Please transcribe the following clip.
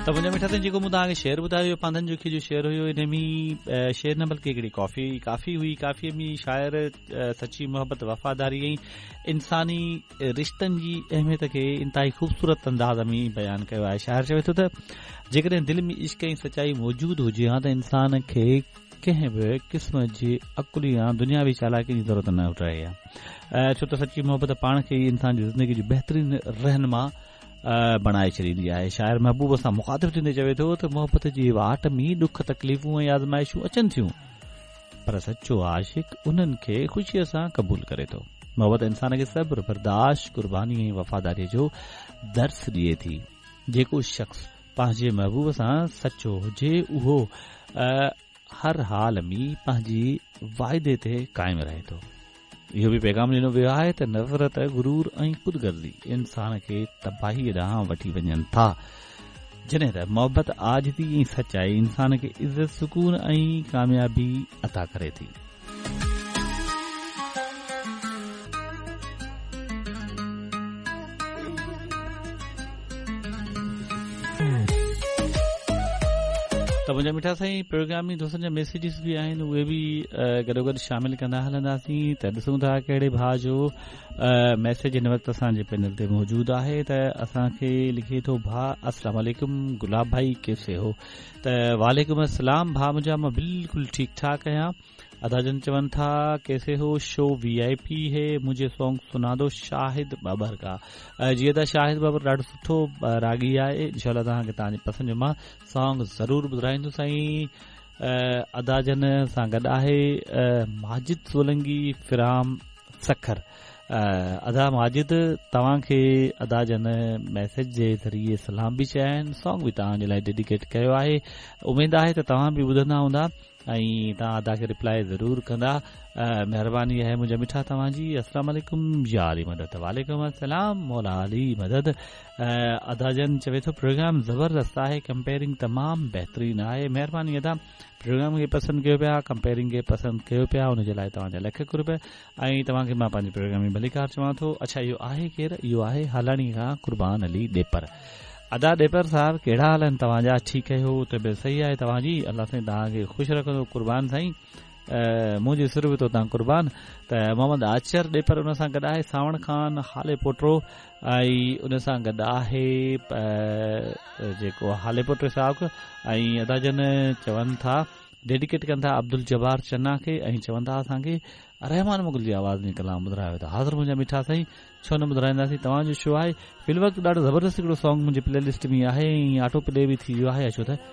ته منهنجا مٺا سائين جيڪو مون توهان کي شعر ٻڌايو اهو پانڌن جوکيي جو شعر هيو ان ۾ شعر نه بلڪه هڪڙي ڪافي ڪافي هئي ڪافي ۾ شاعر سچي محبت وفاداري ۽ انساني رشتن جي اهميت کي انتهائي خوبصورت انداز ۾ بيان ڪيو آهي شاعر چوي ٿو ته جيڪڏهن دل ۾ عشق ۽ سچائي موجود هجي ها ته انسان کي ڪنهن به قسم جي عقل يا دنياوي چالاڪي جي ضرورت نه رهي ها ڇو ته سچي محبت پاڻ کي ئي انسان جي زندگي جو بهترين رهنما بڻائي ڇڏيندي آهي شاعر محبوب سان مخاطب ٿيندي چوي ٿو ته محبت جي واٽ ۾ ڏک تڪليفون ۽ آزمائشون اچن ٿيون پر سچو عاشق انهن کي خوشيء سان قبول ڪري ٿو محبت انسان کي صبر برداشت قرباني ۽ وفاداري جو درس ڏئي ٿي جيڪو شخص پنهنجي محبوب سان سچو هجي اهو هر حال ۾ پنهنجي واعدي تي قائم رهي ٿو. اهو به پيغام ڏنو ويو آهي ته نفرت، غرور ۽ خود غرضي انسان کي تباهيء ڏانهن وٺي وڃن ٿا، جڏهن ته محبت، عاجزي ۽ سچائي انسان کي عزت، سڪون ۽ ڪاميابي عطا ڪري ٿي. ته منهنجا مٺا سائين پروگرام ۾ دوستن جا ميسيجز به آهن اهي به گڏو گڏ شامل ڪندا هلنداسين ته ڏسون ٿا ڪهڙي ڀاء جو ميسيج هن وقت اسان جي پينل تي موجود آهي ته اسان کي لکي ٿو ڀاء السلام عليڪم گلاب ڀائي ڪيسي هو ته وعليڪم السلام ڀاء منهنجا مان بلڪل ٺيڪ ٺاڪ آهيان ادا جن چون ٿا ڪيسي هو شو وي آئي پي هي مجهي سونگ سنا دو شاهد بابر ڪا جي ادا شاهد بابر ڏاڍو سٺو راڳي آهي انشاء الله توهان کي توهان جي پسند جو مان سونگ ضرور ٻڌرائيندس سائين ادا جن سان گڏ آهي ماجد سولنگي فرام سکر ادا ماجد توهان کي ادا جن ميسيج جي ذريعي سلام به چيا آهن سونگ به توهان جي لاء ڊيڊيڪيٽ ڪيو آهي اميد آهي ته توهان به ٻڌندا هوندا ۽ توهان ادا کي ريپلائي ضرور ڪندا مهرباني آهي منهنجا مٺا توهان جي السلام عليڪم يا علي مدد وعليڪم السلام مولا علي مدد ادا جن چوي ٿو پروگرام زبردست آهي ڪمپيئرنگ تمام بهترين آهي مهرباني ادا پروگرام کي پسند ڪيو پيا ڪمپيئرنگ کي پسند ڪيو پيا ان جي لاء توهان جا لک قرب ۽ توهان کي مان پنهنجي پروگرام ۾ ڀليڪار چوان ٿو اڇا اهو آهي ڪير اهو آهي هالاڻي کان قربان علي ڏيپر ادا ڏيپر صاحب ڪهڙا حال آهن توهان جا ٺيڪ آهيو طبيعت صحيح آهي توهان جي الله سائين توهان کي خوش رکندو قربان سائين منهنجي سر به تو تان قربان ته محمد آچر ڏيپر ان سان گڏ آهي ساوڻ خان هالي پوٽو ۽ ان سان گڏ آهي جيڪو هالي پوٽو صاحب ۽ ادا جن چون ٿا ڊيڊيڪيٽ ڪن ٿا عبدالجبار چنا کي ۽ چون ٿا اسان کي رحمان مغل جي آواز ۾ ڪلام ٻڌرايو ته حاضر منهنجا مٺا سائين ڇو نه ٻڌرائينداسين توهان جو شو آهي في الوقت ڏاڍو زبردست هڪڙو سانگ منهنجي پلي لسٽ ۾ آهي ۽ آٽو پلي به ٿي ويو آهي اچو ته.